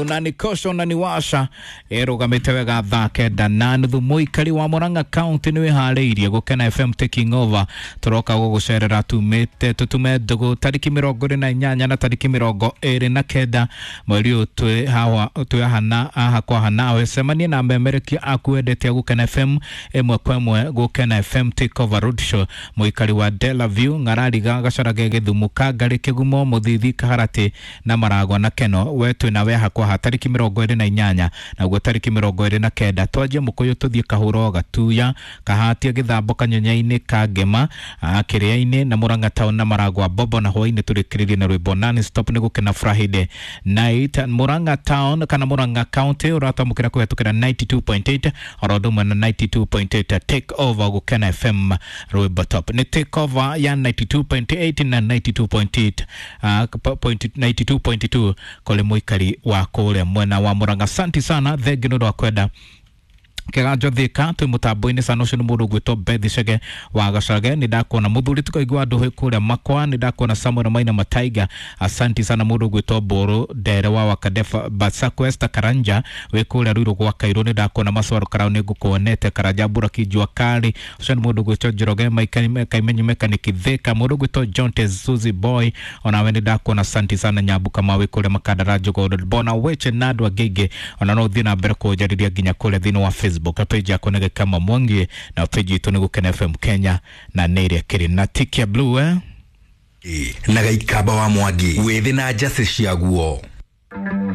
Unanikosha unaniwasha ĩrũgamĩte wega thaa 9:30. Mũikari wa Murang'a County nĩ wĩharĩirie Gũkena FM taking over. Tũroka gũgũcerera tumĩte tũtume ndũgũ tarĩki 28 na tarĩki 29 mweri ũyũ twĩ hawa twĩ haha na haha kwa haha nawe. Cemanie na memerekia aku wendete a Gũkena FM ĩmwe kwa ĩmwe. Gũkena FM take over road show. Mũikari wa Delaview, Ng'arariga, Gacarage, Gĩthumo, Kangarĩ, Kĩgumo, Mũthithi, Kaharatĩ na Maragwa na Keno, we twĩ nawe haha kwa haha tarĩki 28 naguo tarĩki 29. Twanjie Mũkũyũ tũthiĩ Kahũro, Gatuya, Kahatia, Gĩthambo, Kanyonyainĩ, Kangema, Kĩrĩa-inĩ na Murang'a Town na Maragwa Bobo, na hwainĩ tũrĩkĩrĩrie na rwĩmbo non stop nĩ Gũkena Friday night. Murang'a Town kana Murang'a County ũratwamũkĩra kũhetũkĩra 92.8 oro ũndũ ũmwe na 92.8 take over Gũkena FM rwĩmbo top nĩ take over ya 92.8 na 92.8 point 92.2 kũrĩ mũikari wa kũrĩa mwena wa Murang'a. Asante sana, thengi nĩ ũndũ wa kwenda Kĩganjo Thika twĩ mũtambo-inĩ sana. Ũcio nĩ mũndũ ũgwĩtwo Beth Chege wa Gacage, nĩ ndakuona. Mũthuri tũkaigua andũ kũrĩa Makwa, nĩ ndakuona. Samuel Maina Mataiga, asanti sana. Mũndũ ũgwĩtwo Mbũrũ Ndere wa Wakadefa Basakwesta Karanja wĩ kũrĩa Ruiru gwa Kairũ, nĩ ndakuona. Macwaro Karau nĩ ngũkuonete. Karanja Mbura Jua Kali, ũcio nĩ mũndũ ũgwĩtwo Njoroge Kaimenyi Mekaniki Thika. Mũndũ ũgwĩtwo John Tezuzi Boy, onawe nĩ ndakuona, asanti sana. Nyambu Kamau wĩ kũrĩa Makandara Njogoro Bona Weche na andũ angĩ aingĩ, ona no ũthiĩ na mbere kũnjarĩria nginya kũrĩa thĩinĩ wa Facebook page yakwa nĩ Gĩkama Mwangi na page itũ nĩ Gũkena FM Kenya na nĩ ĩrĩa kĩrĩ na tick ya blue, eh? Na Gaikamba wa Mwangi wĩthĩ na njacĩ ciaguo.